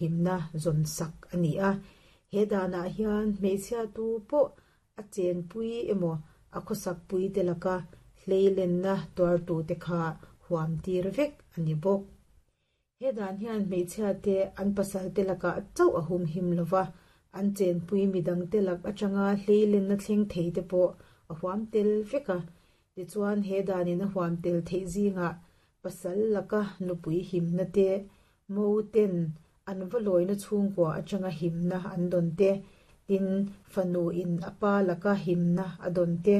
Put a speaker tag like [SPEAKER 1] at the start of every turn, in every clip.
[SPEAKER 1] Himna zawn sak a ni a. He danah hian hmeichhia tu pawh a chenpui emaw a khawsakpui te laka hleilenna tuartute kha huam tir vek a ni bawk. He dan hian hmeichhia te an pasal te lakah chauh a humhim lova, an chenpui midang te lak atanga hleilenna thleng thei te pawh a huam tel vek a. Tichuan he danin a huam tel theih zingah Pasal laka nupui himna te, mo ten an va lawina chhungkua atanga himna an dawn te, tin fanu in a pa laka himna a dawn te,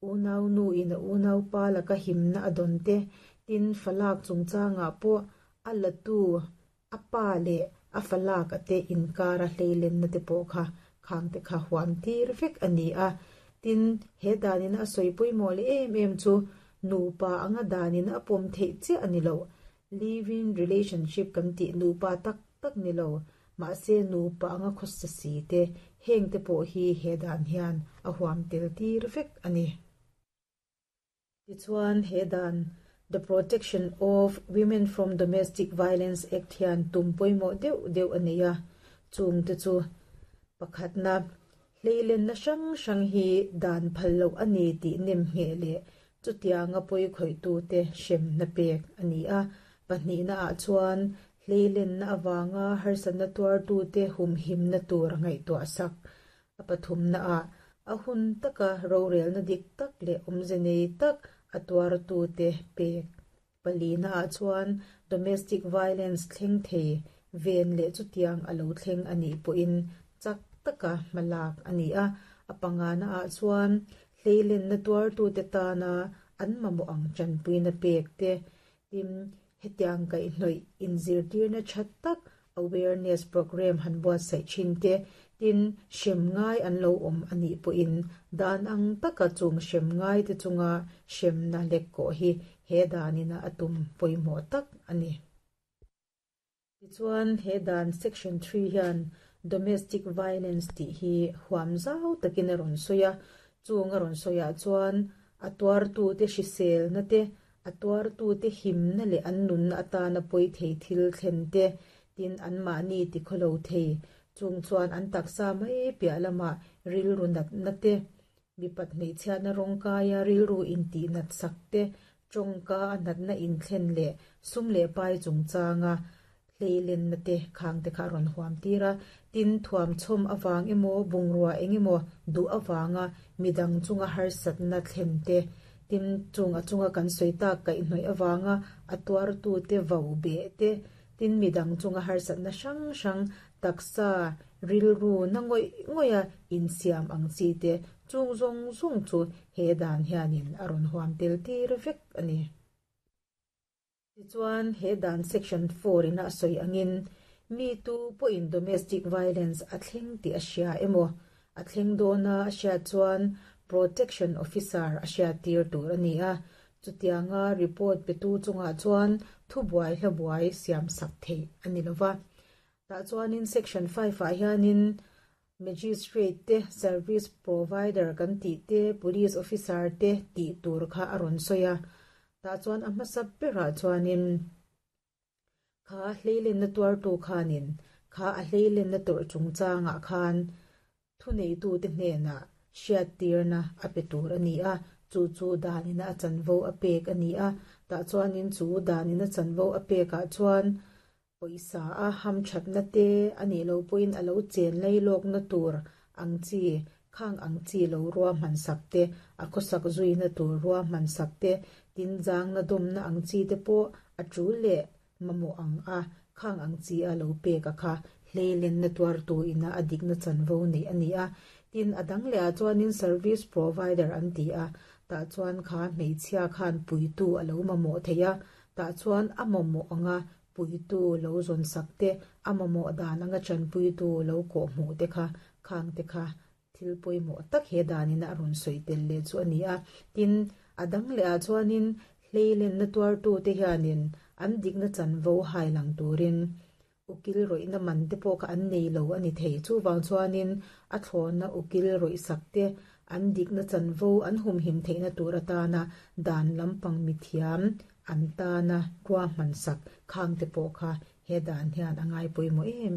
[SPEAKER 1] unau nu in a unau pa laka himna a dawn te, tin falak chungchangah pawh a latu A pa leh a falak a te inkara hleilenna te pawh kha khang te kha huam tir vek a ni a. Tin, he danin a sawi pawimawh leh em em chu nupa anga danin a pawm theih chiah a ni lo. Live-in relationship kan tih nupa tak tak ni lo, mahse nupa anga khawsa si te, heng te pawh hi he dan hian a huam tel tir vek a ni. Tichuan, he dan The Protection of Women from Domestic Violence Act hian tum pawimawh deuh deuh a nei a, chungte chu, Pakhatna, hleilenna hrang hrang hi dan phal loh a ni tih nem ngheh leh chutianga pawikhawih-tute hremna pek a ni a. Pahnihnaah chuan, hleilenna avanga harsatna tuartute humhimna tur ngaihtuah sak A pathumnaah, a hun taka rorelna dik tak leh awmze nei tak a tuartute pek. Palinaah chuan domestic violence thleng thei ven leh chutiang a lo thleng a nih pawhin chak taka hma lak a ni a. A panganaah chuan hleilenna tuartute tana an mamawh ang tanpuina pek te, tin hetiang kaihhnawih inzirtirna tha tak Awareness programme han buatsaih thin te, tin, hrem ngai an lo awm a nih pawhin dan ang taka chung hrem ngai te chunga hremna lek kawh hi he danina a tum pawimawh tak a ni. Tichuan, he dan Section 3 hian Domestic Violence tih hi huam zau takin a rawn sawi a, chung a rawn sawiah chuan a tuartute hriselna te, A tuartute himna leh an nunna atana pawi thei thil thlen te, tin anmahni tikhawlo thei, chung chuan an taksa mai piah lamah rilru natna te, mipat hmeichhiatna rawngkaia rilru intihnat sak te, tawngka a natna inthlen leh sum leh pai chungchanga Hleilenna te khang te kha a rawn huam tir a, tin thuamchhawm avang emaw bungrua eng emaw duh avanga midang chunga harsatna thlen te, tin chung a chunga kan sawi tak kaihhnawih avanga a tuartute vau beh te, tin midang chunga harsatna hrang hrang taksa rilru na ngawih ngawih a insiam ang chi te chung zawng zawng chu he dan hianin a rawn huam tel tir vek a ni. Tichuan, he dan Section 4 in a sawi angin, mi tu pawhin domestic violence a thleng tih a hria emaw, a thleng dawna a hriat chuan Protection Officer a hriattir tur a ni a, chutianga report petu chungah chuan thubuai hlabuai siamsak theih a ni lova. Tah chuanin Section 5 ah hianin Magistrate te, Service Provider kan tih te, Police Officer te tih tur kha a rawn sawi a. Tah chuan a hmasa berah chuanin kha hleilenna tuartu khanin kha a hleilenna tawrh chungchangah khan thuneitute hnenah hriattirna a pe tur a ni a, chu chu danina a chanvo a pek a ni a. Tah chuanin chu danina chanvo a pekah chuan Pawisa a hamthatna te a nih loh pawhin a lo chen lai lawkna tur ang chi, khang ang chi lo ruahman sak te, a khawsak zuina tur ruahman sak te, tinzangna dawmna ang chi te pawh a tul leh mamawh ang a, khang ang chi a lo pek a kha hleilenna tuartu ina a dikna chanvo neih a ni a. Tin, a dang leh ah chuanin service provider an ti a, tah chuan kha hmeichhia khan puitu a lo mamawh thei a, tah chuan a mamawh ang a puitu lo zawn sak te, a mamawh dan anga tanpuitu lo kawh hmuh te kha, khang te kha thil pawimawh tak he danin a rawn sawi tel leh chu a ni a. Tin, a dang leh ah chuanin hleilenna tuartute hianin an dikna chanvo hai lang turin ukil rawihna man te pawh kha an nei lo a ni thei. Chuvang chuanin a thlawna ukil rawih sak te, an dikna chanvo an humhim theihna tur atana dan lampang mithiam An tana ruahman sak khangte pawh kha He dan hian a ngai pawimawh em.